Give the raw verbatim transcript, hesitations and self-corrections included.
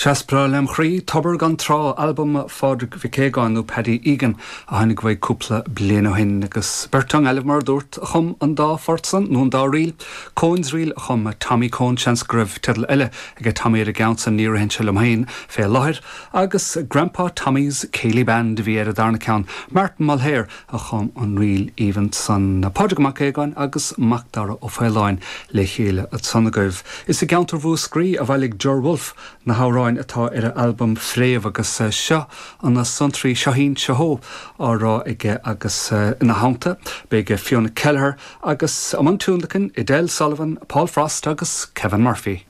Is breá lem chroí Tobar gan Trá albam Phádraig Mhic Aogáin nó Paddy Egan a tháinig uaidh cúpla bliain ó shin agus beirt ón nGaillimh mar dúirt a chum an dá phort san nó an dá ríl, Cone's Reel a chum Tommy Coen seans go raibh teideal eile aige Tommy ar an gceann san ní ritheann sé liom féin fé láthair, agus Grandpa Tommy's Céilí Band a bhí ar an darna ceann Martin Mulhare a chum an ríl aoibhinn san Pádraig Mac Aogáin agus Macdara Ó Faoláin le chéile ansan agaibh. Is i gceantar Mhúscraí a bhailigh Ger Wolfe na hamhráin atá ar a albam Fréamh agus eh, seo an na sonraí seohín seo á rá aige agus eh, ina theannta beidh Fiona Kelleher agus an tionlacan Edel Sullivan, Paul Frost agus Kevin Murphy.